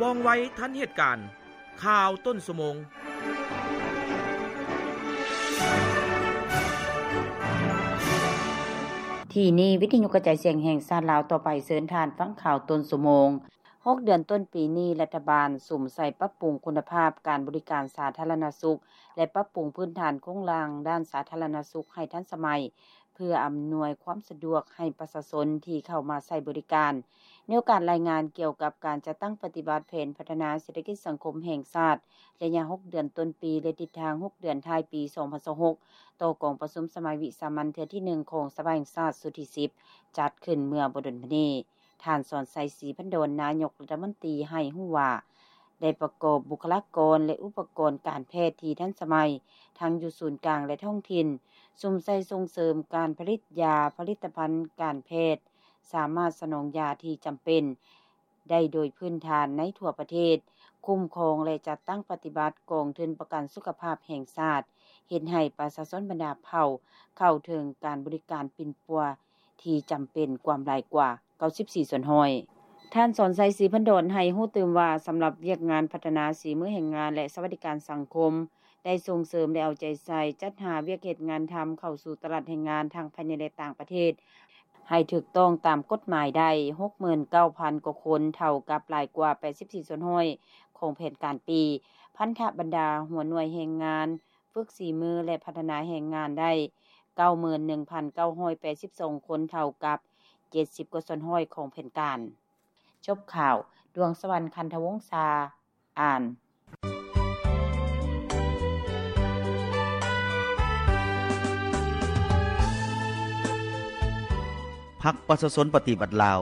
ວ່ອງໄວທັນເຫດການ. ຂ່າວຕົ້ນຊົ່ວໂມງ. ທີ່ນີ້ວິທະຍຸກະຈາຍສຽງແຫ່ງຊາດລາວ. ຕໍ່ໄປເຊີນທ່ານຟັງຂ່າວຕົ້ນຊົ່ວໂມງ. ຫົກເດືອນຕົ້ນປີນີ້, ລັດຖະບານສຸມໃສ່ປັບປຸງຄຸນນະພາບການບໍລິການສາທາລະນະສຸກ ແລະ ປັບປຸງພື້ນຖານໂຄງລ່າງດ້ານສາທາລະນະສຸກໃຫ້ທັນສະໄໝ ເພື່ອອຳນວຍຄວາມສະດວກໃຫ້ປະຊາຊົນທີ່ເຂົ້າມາໃຊ້ບໍລິການ. ໃນໂອກາດລາຍງານກ່ຽວກັບການຈັດຕັ້ງປະຕິບັດແຜນພັດທະນາເສດຖະກິດສັງຄົມແຫ່ງຊາດ ໄລຍະຫົກເດືອນຕົ້ນປີ ແລະ ທິດທາງຫົກເດືອນທ້າຍປີສອງພັນຊາວຫົກ ຕໍ່ກອງປະຊຸມສະໄໝວິສາມັນເທື່ອທີໜຶ່ງຂອງສະພາແຫ່ງຊາດຊຸດທີສິບ ຈັດຂຶ້ນເມື່ອບໍ່ດົນມານີ້, ທ່ານ ສອນໄຊ ສີພັນດອນ ນາຍົກລັດຖະມົນຕີ ໃຫ້ຮູ້ວ່າ ໄດ້ປະກອບບຸກຄະລາກອນ ແລະ ອຸປະກອນການແພດທີ່ທັນສະໄໝ ທັງຢູ່ສູນກາງ ແລະ ທ້ອງຖິ່ນ, ສຸມໃສ່ສົ່ງເສີມການຜະລິດຢາ, ຜະລິດຕະພັນການແພດ, ສາມາດສະໜອງຢາທີ່ຈຳເປັນໄດ້ໂດຍພື້ນຖານໃນທົ່ວປະເທດ, ຄຸ້ມຄອງ ແລະ ຈັດຕັ້ງປະຕິບັດກອງທຶນປະກັນສຸຂະພາບແຫ່ງຊາດ, ເຮັດໃຫ້ປະຊາຊົນບັນດາເຜົ່າເຂົ້າເຖິງການບໍລິການປິ່ນປົວທີ່ຈຳເປັນກວມຫຼາຍກວ່າ ເກົ້າສິບສີ່ສ່ວນຮ້ອຍ. ທ່ານ ສອນໄຊ ສີພັນດອນ ໃຫ້ຮູ້ຕື່ມວ່າ ສຳລັບວຽກງານພັດທະນາສີມືແຮງງານ ແລະ ສະຫວັດດີການສັງຄົມ ໄດ້ສົ່ງເສີມ ແລະ ເອົາໃຈໃສ່ ຈັດຫາວຽກເຮັດງານທຳເຂົ້າສູ່ຕະຫຼາດແຮງງານທັງພາຍໃນ ແລະ ຕ່າງປະເທດ ໃຫ້ຖືກຕ້ອງຕາມກົດໝາຍໄດ້ ຫົກໝື່ນເກົ້າພັນກວ່າຄົນ, ເທົ່າກັບຫຼາຍກວ່າ ແປດສິບສີ່ສ່ວນຮ້ອຍຂອງແຜນການປີ. ພັນທະບັນດາຫົວໜ່ວຍແຮງງານ ຝຶກສີມື ແລະ ພັດທະນາແຮງງານໄດ້ ເກົ້າໝື່ນໜຶ່ງພັນເກົ້າຮ້ອຍແປດສິບສອງຄົນ, ເທົ່າກັບເຈັດສິບກວ່າສ່ວນຮ້ອຍຂອງແຜນການ. ຈົບຂ່າວ. ດວງສະຫວັນ ຄັນທະວົງສາ ອ່ານ. ພັກປະຊາຊົນປະຕິວັດລາວ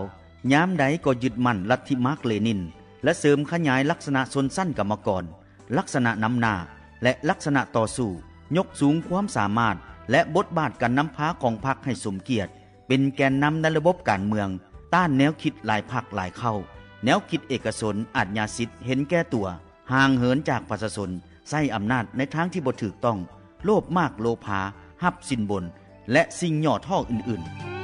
ຍາມໃດກໍຍຶດໝັ້ນລັດທິມາກເລນິນ ແລະ ເສີມຂະຫຍາຍລັກສະນະຊົນຊັ້ນກຳມະກອນ, ລັກສະນະນຳໜ້າ ແລະ ລັກສະນະຕໍ່ສູ້, ຍົກສູງຄວາມສາມາດ ແລະ ບົດບາດການນຳພາຂອງພັກໃຫ້ສົມກຽດ ເປັນແກນນຳໃນລະບົບການເມືອງ, ຕ້ານແນວຄິດຫຼາຍພັກຫຼາຍເຄົ້າ, ແນວຄິດເອກະຊົນ, ອາດຍາສິດ, ເຫັນແກ່ຕົວ, ຫ່າງເຫີນຈາກປະຊາຊົນ, ໃຊ້ອຳນາດໃນທາງທີ່ບໍ່ຖືກຕ້ອງ, ໂລບມາກໂລພາ, ຮັບສິນບົນ ແລະ ສິ່ງຫຍໍ້ທໍ້ອື່ນໆ.